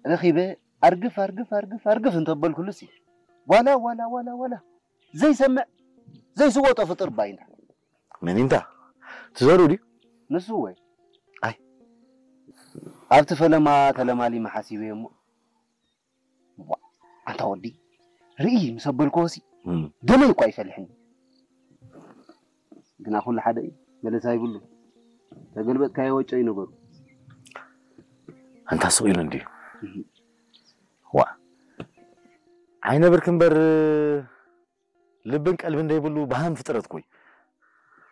ረኺበ ኣርግፍ ኣርግፍ ኣርግፍ ኣርግፍ እንተበልኩሉሲ ዋላ ዋላ ዋላ ዋላ ዘይሰምዕ ዘይስወጦ ፍጡር ባይና። መን እንታ ትዘሩ ድዩ? ንሱ ወይ ኣይ። ኣብቲ ፈለማ ተለማሊመ ሓሲበ እሞ፣ ዋ፣ ኣንታ ወዲ ርኢ ምስ ኣበልክዎሲ እም። ደመይ እኳ ይፈልሕኒ። ግና ኩሉ ሓደ እዩ፣ መለሳ ይብሉ። ተገልበጥካዮ ወጮ እዩ ነገሩ። ኣንታ ስቕ ኢሉ እንድዩ። ዋ፣ ዓይነ ብርክ እምበር ልብን ቀልብን ዘይብሉ በሃም ፍጥረት ኮይ።